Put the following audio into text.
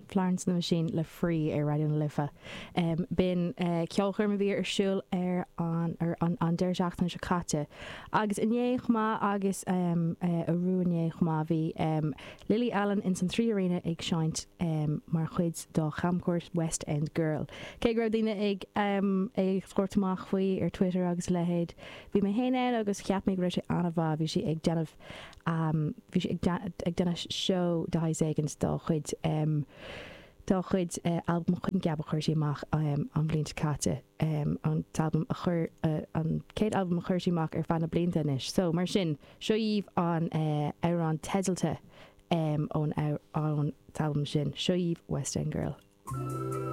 Florence and the Machine le Free ar Raidió na Life. B'in ceolchoirm a bhí ar siúl ar an ar an an deireadh seachtaine seo caite. Agus inné chomh maith agus arú inné chomh maith bhí Lily Allen ins an 3Arena ag seinnt mar chuid dá chamchuairt West End Girl. Cé go raibh daoine ag ag tabhairt amach faoi ar Twitter agus a leithéid, bhí mé féin ann agus cheap mé go raibh sé an-mhaith. Bhí sí ag déanamh Bhí sí ag déanamh seó de shaghas éigint dá chuid dá chuid albam coincheap a chuir sí amach an bhliain seo caite, an t-albam a chuir an chéad albam a chuir sí amach ar feadh na blianta anois. So, mar sin, seo dhaoibh an amhrán teidealta ón ón t-albam sin, seo dhaoibh West End Girl.